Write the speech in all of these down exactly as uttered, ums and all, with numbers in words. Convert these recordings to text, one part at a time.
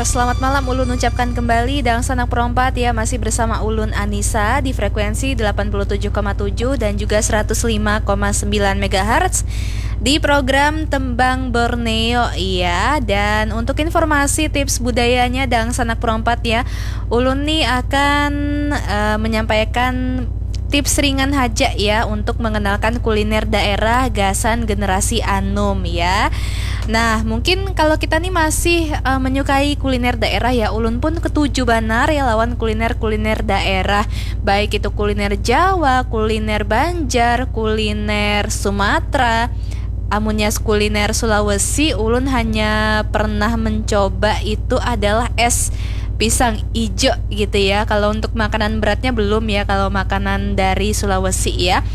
Selamat malam ulun ucapkan kembali dangsanak perompat ya, masih bersama ulun Anissa di frekuensi delapan puluh tujuh koma tujuh dan juga seratus lima koma sembilan megahertz di program Tembang Borneo ya. Dan untuk informasi tips budayanya dangsanak perompat ya, ulun nih akan eh, menyampaikan tips ringan haja ya untuk mengenalkan kuliner daerah gasan generasi anum ya. Nah, mungkin kalau kita nih masih eh, menyukai kuliner daerah ya, ulun pun ketuju banar ya lawan kuliner-kuliner daerah. Baik itu kuliner Jawa, kuliner Banjar, kuliner Sumatera. Amunnya kuliner Sulawesi, ulun hanya pernah mencoba itu adalah es pisang ijo gitu ya. Kalau untuk makanan beratnya belum ya, kalau makanan dari Sulawesi ya.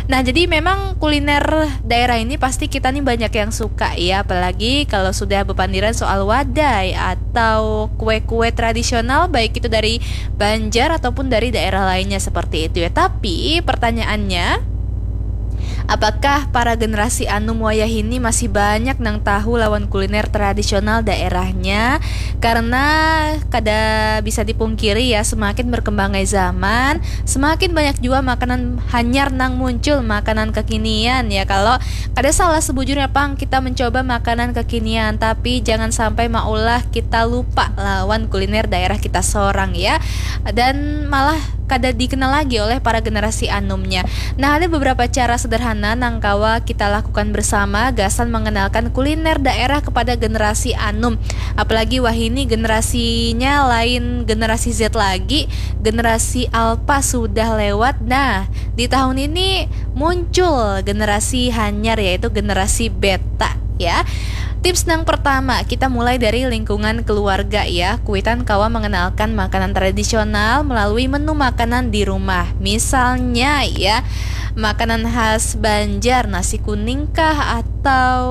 Nah, jadi memang kuliner daerah ini pasti kita nih banyak yang suka ya, apalagi kalau sudah bepandiran soal wadai atau kue-kue tradisional, baik itu dari Banjar ataupun dari daerah lainnya seperti itu ya. Tapi pertanyaannya, apakah para generasi anum wayah ini masih banyak nang tahu lawan kuliner tradisional daerahnya? Karena kada bisa dipungkiri ya, semakin berkembangnya zaman, semakin banyak juga makanan hanyar nang muncul, makanan kekinian ya. Kalau kada salah sebujurnya pang kita mencoba makanan kekinian, tapi jangan sampai maulah kita lupa lawan kuliner daerah kita sorang ya. Dan malah kada dikenal lagi oleh para generasi anumnya. Nah, ada beberapa cara sederhana nang kawa kita lakukan bersama gasan mengenalkan kuliner daerah kepada generasi anum. Apalagi wahini generasinya lain generasi Z lagi, generasi alpha sudah lewat. Nah, di tahun ini muncul generasi hanyar, yaitu generasi beta ya. Tips yang pertama, kita mulai dari lingkungan keluarga ya. Kuitan kawa mengenalkan makanan tradisional melalui menu makanan di rumah. Misalnya ya, makanan khas Banjar, nasi kuning kah, atau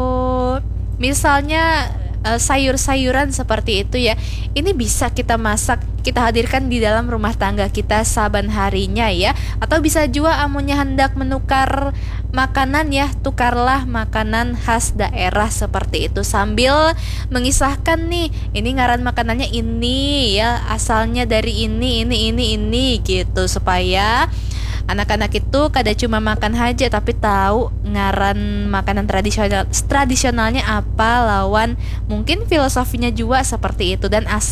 misalnya eh, sayur-sayuran seperti itu ya. Ini bisa kita masak, kita hadirkan di dalam rumah tangga kita saban harinya ya. Atau bisa juga amunnya hendak menukar makanan ya, tukarlah makanan khas daerah seperti itu sambil mengisahkan nih, ini ngaran makanannya ini ya, asalnya dari ini, ini, ini, ini gitu, supaya anak-anak itu kada cuma makan haja tapi tahu ngaran makanan tradisional tradisionalnya apa lawan mungkin filosofinya juga seperti itu dan asal